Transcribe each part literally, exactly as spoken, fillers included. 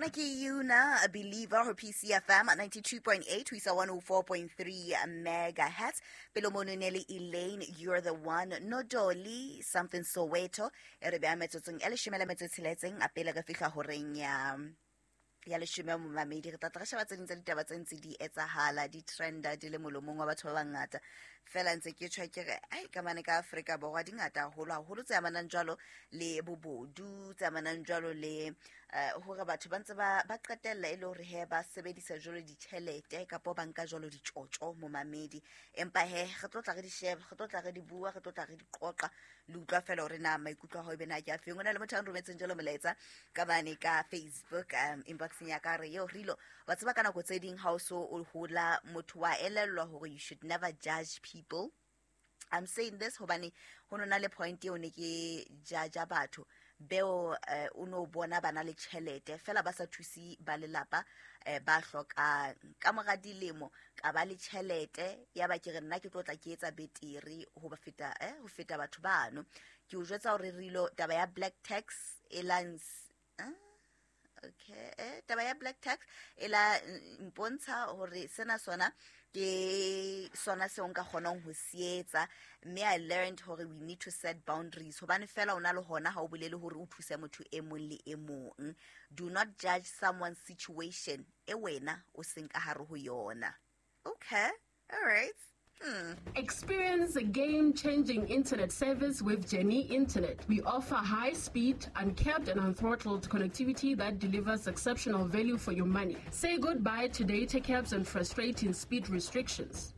Ena ke Yuna a Believer ho P C F M ninety-two point eight ho isa one oh four point three megahertz. Pele mono ne le Elaine, You're the One, Nodoli, Something Soweto. E re beha metsotsong e leshome le metso e tsheletseng a pele re fihla horeng ya ya leshome momamedi. Re tla tla re sheba tse ding tsa ditaba tse ntse di etsahala, di trenda di le molomong wa batho ba bangata. Fela ntse ke tjho ke re ai ka mane ka Afrika Borwa di ngata haholo haholo tse amanang jwalo le bobodu, tse amanang jwalo le hore batho ba ntse ba ba qetella e le hore he ba sebedisa jwalo ditjhelete kapa ba nka jwalo ditjotjo momamedi. Empa he re tlo tla re di sheba, re tlo tla re di bua, re tlo tla re di qoqa le utlwa fela hore na maikutlo a hao ebe na ke a feng. Hona le motho a nrometseng jwalo molaetsa ka mane ka Facebook um inbox ya ka re yo rilo wa tseba ka nako tse ding ha o so o hola motho wa elellwa hore you should never judge people. I'm saying this hobane ho nona le point eo ne ke judge batho beo o no bona bana le tjhelete fela ba sa thusi ba lelapa ba hloka ka mora dilemo ka ba le tjhelete ya ba ke re nna ke tlo tla ke etsa betere ho ba feta eh ho feta batho bano. Ke o jwetsa hore rilo taba ya black tax e lans eh okay eh taba ya black tax e la mpontsha hore sena sona ke sona seo nka kgonang ho se etsa, mme I learned hore we need to set boundaries hobane fela o na le hona ha o bolele hore o thuse motho e mong le e mong. Do not judge someone's situation e wena o seng ka hare ho yona. Okay, all right. Hmm. Experience a game-changing internet service with Jenny Internet. We offer high-speed, uncapped and unthrottled connectivity that delivers exceptional value for your money. Say goodbye to data caps and frustrating speed restrictions.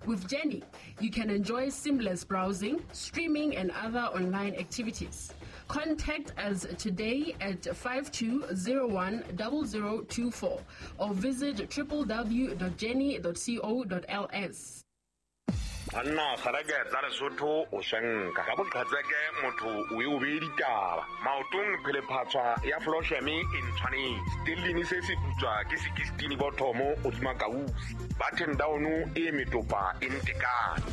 With Jenny, you can enjoy seamless browsing, streaming, and other online activities. Contact us today at five two zero one zero zero two four or visit w w w dot jenny dot co dot l s. Anna kgareke tsa Lesotho o shanka ka boqhatseke motho o e o be ditaba maotong phele phatswa ya Flosheme e ntshwanetse stellini se se putswa ke sixteen bothomo o dima kausi button down e metopa e ntekane.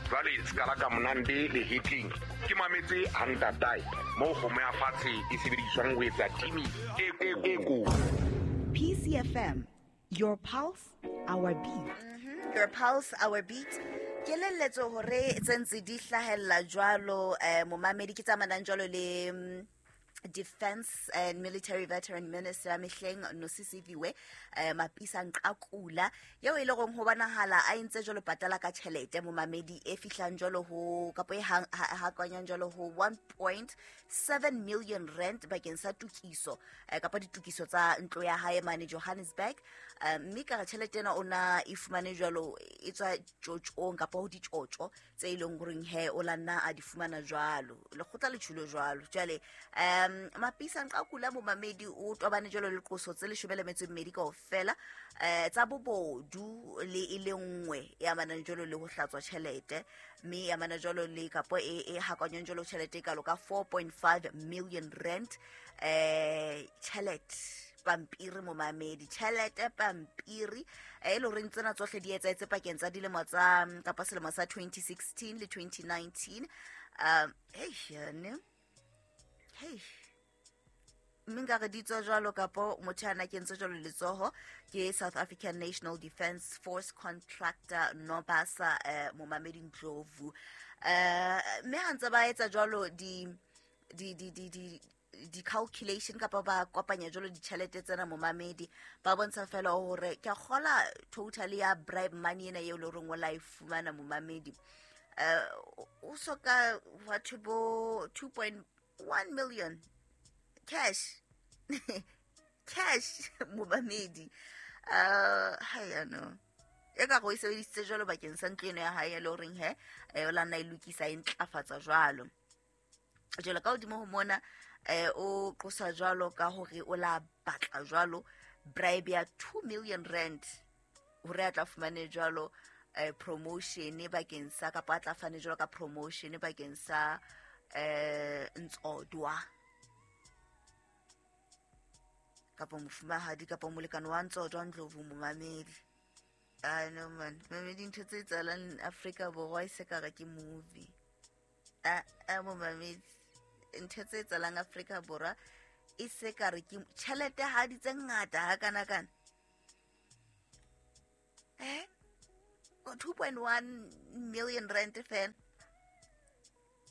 Jwale skala ka monande le hitling ke mametse hantatai mo kgomo ya fatshe e sebediswang ho etsa timi e e ko. P C F M, your pulse, our beat. Mm-hmm. Your pulse, our beat. Ke lelletso hore tse ntse di hlahella jwalo eh momamedi ke tsamanang jwalo le Defense and Military Veteran Minister mehleng Nosisiviwe eh Mapisa Nqakula yeo e le gong ho bonahala a entse jwalo patala ka tjhelete momamedi e fihlang jwalo ho kapo e ha kwanyang jwalo ho one point seven million rand bakeng sa tukiso kapa ditukiso tsa ntlo ya hae mane Johannesburg. Mme ka tjhelete ena ona e fumane jwalo e tswa tjotjong kapa ho ditjotjo tse ileng goreng he o la nna a di fumana jwalo lekgotla le tjhulo jwalo. Jwale um Mapisa Nqakula momamedi o tobane jwalo le qoso tse leshome le metso e mmedi kaofela eh tsa bobodu le e le nngwe ya manang jwalo le ho hlatswa tjhelete mme ya mana jwalo le kapo e e hakanyang jwalo tjhelete e kalo ka four point five million rand eh tjhelete pampiri momamedi tjhelete pampiri e le horeng tsena tsohle di etsaetse pakeng tsa dilemo tsa kapa selemo sa twenty sixteen le twenty nineteen. Um hey ne hey mme nka re di tswa jwalo kapo motho ana kentse jwalo letsoho ke South African National Defence Force contractor Nobasa eh, momamedi Ndlovu eh mme ha ntse ba etsa jwalo di di di di di di calculation kapa ba kopanya jwalo ditjhelete tsena momamedi ba bontsha fela hore ke kgola total ya bribe money ena eo le horeng o la e fumana momamedi eh o soka batho bo two point one million cash cash momamedi uh ha no e ka go isebedisitse jwalo bakeng sa ntlo eno ya hae le horeng he o la nna e lokisa e ntlafatsa jwalo. Jwalo ka hodimo ho mona eh o qosa jwalo ka hore o la batla jwalo bribe ya two million rand hore a tla fumane jwalo eh promotion bakeng sa kapa a tla fane jwalo ka promotion bakeng sa eh Ntsodwa kapa mofumahadi kapa molekane wa Ntsodwa Ndlovu momamedi. I know man, mamedi ntho tse etsahalang Afrika Borwa e se ka re ke movie. A a momamedi, ntho tse etsahalang Afrika Borwa e se ka re ke tjhelete ha di tse ngata ha kana kana. Eh? two point one million rand fela.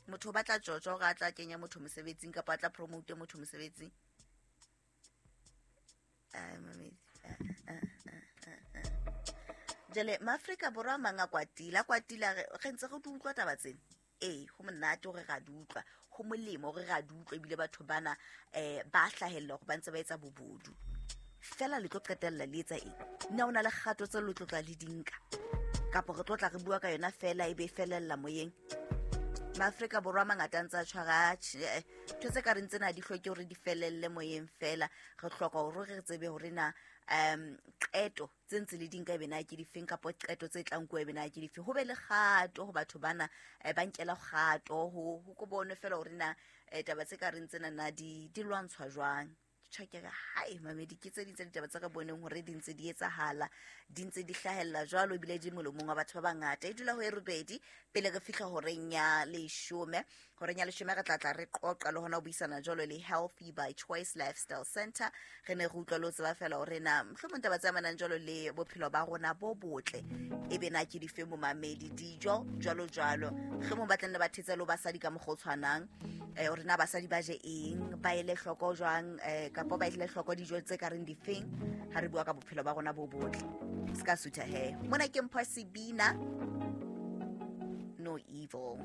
Motho o batla tjotjo hore a tla kenya motho mosebetsing kapa a tla promote motho mosebetsing. Ai mamedi. Jwale maAfrika Borwa a mang a kwatile, a kwatile re ntse re di utlwa taba tsena. Ee, ho monate hore ra di utlwa, ho molemo hore ra di utlwa ebile batho bana eh ba hlahella hore ba ntse ba etsa bobodu. Fela le tlo qetella le etsa eng? Nna o na le kgato tse le tlo tla le di nka? Kapa re tlo tla re bua ka yona fela ebe e felella moyeng? MaAfrika Borwa a mangata a ntse a tshwara ntho tse ka reng tsena di hloke hore di felelle moyeng fela. Re hloka hore re tsebe hore na um qeto tse ntse le di nka ebe na ke difeng kapa qeto tse tlang nkuwa ebe na ke difeng. Ho be le kgato ho batho bana ba nkela kgato ho ho ko bonwe fela hore na taba tse ka reng tsena na di di lwantshwa jwang. Ke tjho ke re hai mamedi, ke tse ding tsa ditaba tse re boneng hore di ntse di etsahala, di ntse di hlahella jwalo ebile di molomong wa batho ba bangata. E dula ho e robedi pele re fihla horeng ya leshome. Horeng ya leshome re tla tla re qoqa le hona ho buisana jwalo le Healthy by Choice Lifestyle Center. Re ne re utlwa le ho tseba fela hore na mohlomong taba tse amanang jwalo le bophelo ba rona bo botle ebe na ke dife momamedi, dijo jwalo jwalo. Mohlomong ba tla nne ba thetsa le basadi ka mokgwa o tshwanang, eh hore na basadi ba je eng, ba ele hloko jwang, eh kapa ba ele hloko dijo tse ka reng difeng ha re bua ka bophelo ba rona bo botle. Ska sutha he. Mona ke Mpho Sebina, No Evil.